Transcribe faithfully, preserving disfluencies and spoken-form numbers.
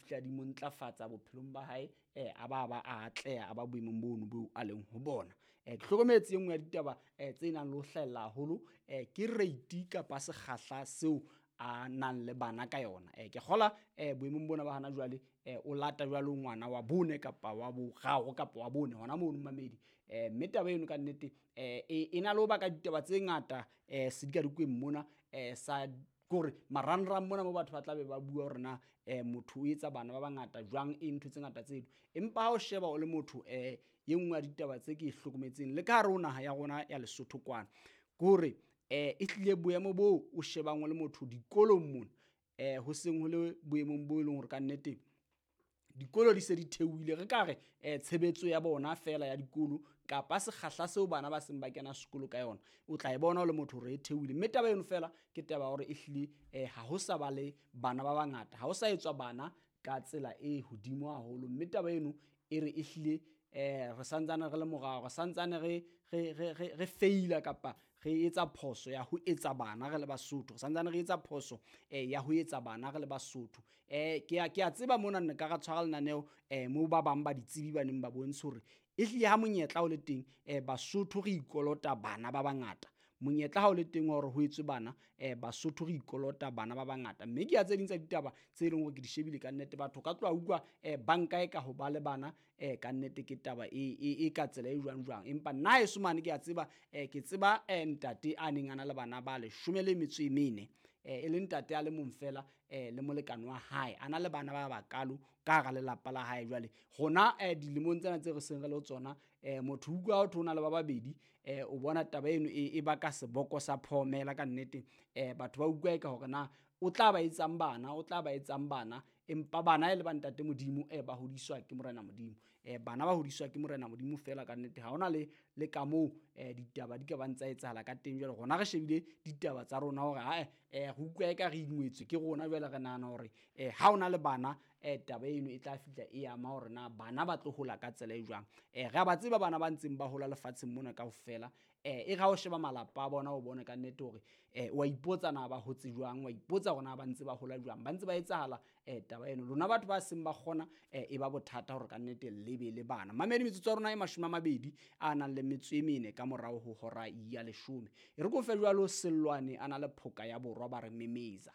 fihla di mo ntlafatsa bophelong ba hae, eh, a ba ba a atleha, a ba boemong bono boo a leng ho bona. Eh, ke hlokometse e nngwe ya ditaba eh, tse nang le ho hlahella haholo eh, ke rate kapa sekgahla seo a nang le bana ka yona. Eh, ke kgola eh, boemong bona ba hana jwale eh, o lata jwalo ngwana wa bone kapa wa boraro kapa wa bone hona mono mamedi. Eh, mme taba eno ka nnete eh, e, e na le ho baka ditaba tse ngata eh, sedikadikweng mona eh, sa kore marangrang mona mo batho ba tla be ba bua hore na eh, motho o etsa bana ba bangata jwang, e ntho tse ngata tseno. Empa ha o sheba o le motho eh, e nngwe ya ditaba tse ke e hlokometseng le ka hare ho naha ya rona ya Lesotho kwana ke hore eh, e hlile boemo boo o shebang o le motho dikolong mona eh, ho seng ho le boemong bo e leng hore ka nnete dikolo di se di theohile, re ka re eh, tshebetso ya bona fela ya dikolo kapa sekgahla seo bana ba seng ba kena sekolo ka yona o tla e bona o le motho hore e theohile. Mme taba eno fela ke taba ya hore ehlile eh, ha ho sa ba le bana ba bangata, ha ho sa etswa bana ka tsela e hodimo haholo. Mme taba eno e re ehlile eh, re santsane re le morao, re santsane re, re, re, re, re feila kapa re etsa phoso ya ho etsa bana re le Basotho, re santsane re etsa phoso eh, ya ho etsa bana re le Basotho. Eh, ke a, ke a tseba mona nne ka ra tshwara lenaneo eh, moo ba bang ba ditsebi ba neng ba bontshe hore ehlile ha monyetla o le teng eh, Basotho re ikolota bana ba bangata. Monyetla ha o le teng wa hore ho etswe bana eh, Basotho re ikolota bana ba bangata. Mme ke ya tse ding tsa ditaba tse leng hore ke di shebile ka nnete, batho ka tloha utlwa eh, banka e ka ho ba le bana eh, ka nnete ke taba e, e, e ka tsela e jwang jwang. Empa nna heso mane ke a tseba eh, ke tseba eh, ntate a neng a na le bana ba leshome le metso e mene eh, e le ntate a le mong fela eh, le molekane wa hae, a na le bana ba bakalo ka hara lelapa la hae. Jwale rona eh, dilemong tsena tse re seng re le ho tsona eh, motho utlwa ho thwe o na le ba babedi eh, o bona taba eno e, e baka seboko sa phomela ka nnete. Eh, batho ba utlwa eka hore na o tla ba etsang bana, o tla ba etsang bana, empa bana e le ba ntate Modimo eh, ba hodiswa ke Morena Modimo. Eh, bana ba hodiswa ke Morena Modimo fela ka nnete, ha hona le, le ka moo eh, ditaba di ka bang tsa etsahala ka teng. Jwale rona re shebile ditaba tsa rona hore ae eh, re utlwa eka re ingwetswe ke rona. Jwale re nahana hore eh, ha ona le bana eh, taba eno e tla fihla e ama hore na bana ba tlo hola ka tsela e jwang. Eh, re a ba tseba bana ba ntseng ba hola lefatsheng mona kaofela. Eh, e re ha o sheba malapa a bona o bone ka nnete hore eh, wa ipotsa na ba hotse jwang, wa ipotsa hore na ba ntse ba hola jwang, ba ntse ba etsahala eh, taba eno. Lona batho ba seng ba kgona eh, e ba bothata hore ka nnete le be le bana. Mamedi, metsotso ya rona e mashome a mabedi a nang le metso e mene ka morao ho hora ya leshome. E re ko fe jwalo Sellwane a na le phoka ya borwa ba re memeza.